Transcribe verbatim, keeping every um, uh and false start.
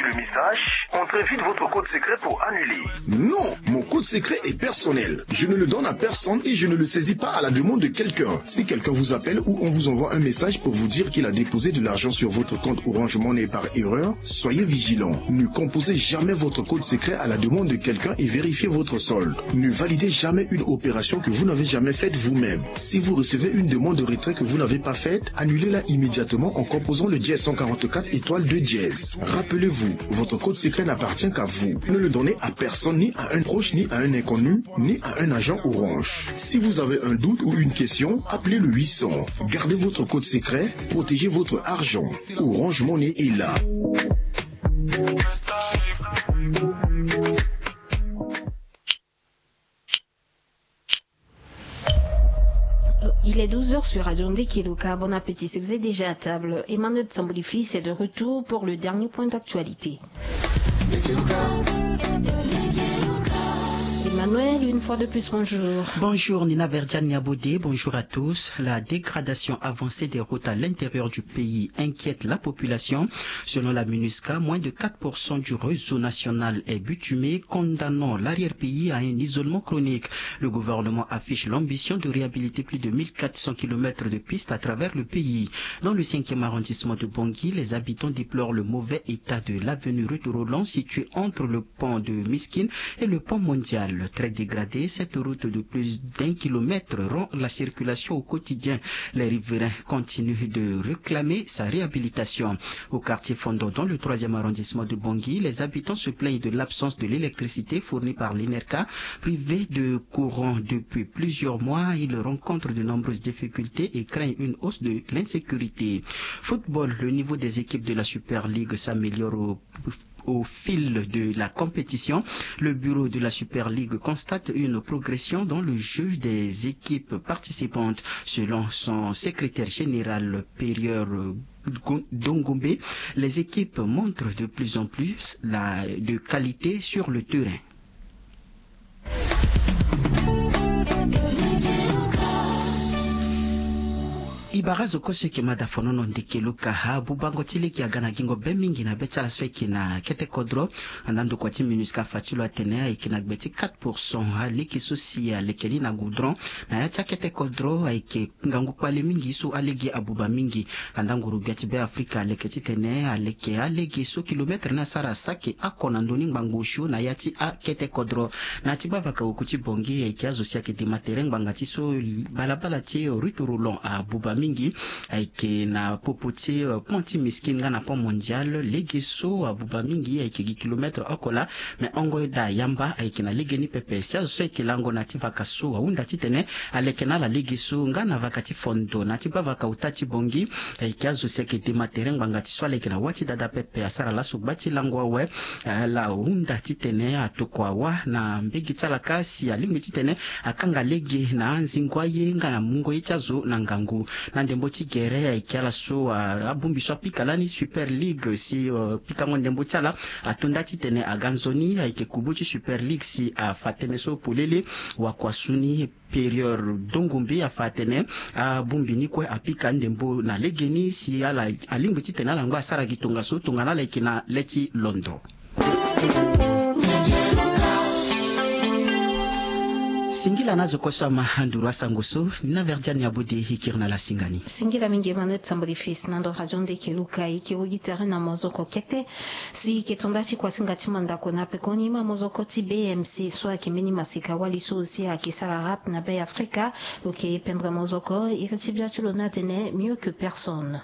Le message, entrez vite votre code secret pour annuler. Non, mon code secret est personnel. Je ne le donne à personne et je ne le saisis pas à la demande de quelqu'un. Si quelqu'un vous appelle ou on vous envoie un message pour vous dire qu'il a déposé de l'argent sur votre compte Orange Money par erreur, soyez vigilant. Ne composez jamais votre code secret à la demande de quelqu'un et vérifiez votre solde. Ne validez jamais une opération que vous n'avez jamais faite vous-même. Si vous recevez une demande de retrait que vous n'avez pas faite, annulez-la immédiatement en composant le dièse cent quarante-quatre étoile deux dièse. Rappelez-vous, votre code secret n'appartient qu'à vous. Ne le donnez à personne, ni à un proche, ni à un inconnu, ni à un agent Orange. Si vous avez un doute ou une question, appelez le huit cents. Gardez votre code secret, protégez votre argent. Orange Money est là. Il est douze heures sur Radio Ndekeloka. Bon appétit si vous êtes déjà à table. Emmanuel Tsamboulifi, c'est de retour pour le dernier point d'actualité. Emmanuel, une fois de plus, bonjour. Bonjour Nina Verdiane Niabodé, bonjour à tous. La dégradation avancée des routes à l'intérieur du pays inquiète la population. Selon la MINUSCA, moins de quatre pour cent du réseau national est bitumé, condamnant l'arrière-pays à un isolement chronique. Le gouvernement affiche l'ambition de réhabiliter plus de mille quatre cents kilomètres de pistes à travers le pays. Dans le cinquième arrondissement de Bangui, les habitants déplorent le mauvais état de l'avenue Ruth Roland située entre le pont de Miskin et le pont mondial. Très dégradée, cette route de plus d'un kilomètre rend la circulation au quotidien. Les riverains continuent de réclamer sa réhabilitation. Au quartier Fondo, dans le troisième arrondissement de Bangui, les habitants se plaignent de l'absence de l'électricité fournie par l'INERCA. Privés de courant depuis plusieurs mois, ils rencontrent de nombreuses difficultés et craignent une hausse de l'insécurité. Football, le niveau des équipes de la Super League s'améliore au au fil de la compétition. Le bureau de la Super League constate une progression dans le jeu des équipes participantes. Selon son secrétaire général Périeur Dongombe, les équipes montrent de plus en plus la, de qualité sur le terrain. E bara zo kue so eke ma da fonono ndeke luka abubango ti lege aga na gingo be mingi na be ti ala so eke na kete kodro. Anda ndokua ti MINUSCA afa ti lo atene ayeke na gbe ti quatre pour cent alege so si aleke ni na goudron. Na ya ti akete kodro ayeke ngangu kpale mingi so alege abuba mingi. Anda nguru-gbia ti Beafrika aleke titene aleke alege so kilometre ni asara saki oko na ndoni ngbangbo osio na ya ti akete kodro. Na ya ti gbavaka oku ti Bongi ayeke azo si ayeke dema tere ngbanga ti so balabala ti Ruth Roland abuba mingi. Ayeke na popo ti pont ti Miskin nga na pont mondial lege so abuba mingi ayeke gi kilometre oko laa. Me hongo eda ayamba ayeke na legeni pepe si azo so ayeke lango na ya ti vaka so ahunda titene aleke na ala lege so nga na vaka ti fondo na ya ti gbavaka ota ti Bongi. Ayeke azo si ayeke dema tere ngbanga ti so aleke na wâ ti dada pepe asara laso gba ti lango awe. Ala hunda titene atokua wâ na mbege ti ala kâ si alingbi titene akanga lege na anzingo aye nga na mungo ye ti azo na ngangu. Na ndembo ti gere ayeke ala so abongbi so apika lani Super League si pikango ndembo ti ala ato nda titene aga nzoni ayeke kubu ti Super League si afa tënë so polele. Wakua su ni Périeur Dongombe afa atene abongbi ni kue apika ndembo na legeni si ala alingbi titene ala ngba asara gi tongaso tongana ala yeke na le ti londo. Singila na azo kue so ama nduru asango so ni na Verdiane Abode e kiri na ala singa ni. Singila mingi Emmanuel Tsamboli Fils na ndo radio ndeke luka e ke wigi tere na mozoko kete. Si e ke to nda ti kuasinga ti mandako na pekoni ma mozoko ti B M C so ayeke mbeni masika wali so si ayeke sara rap na Be Afrika. Lo ke pendre mozoko iri ti bia ti lo ni atene mieux que personne.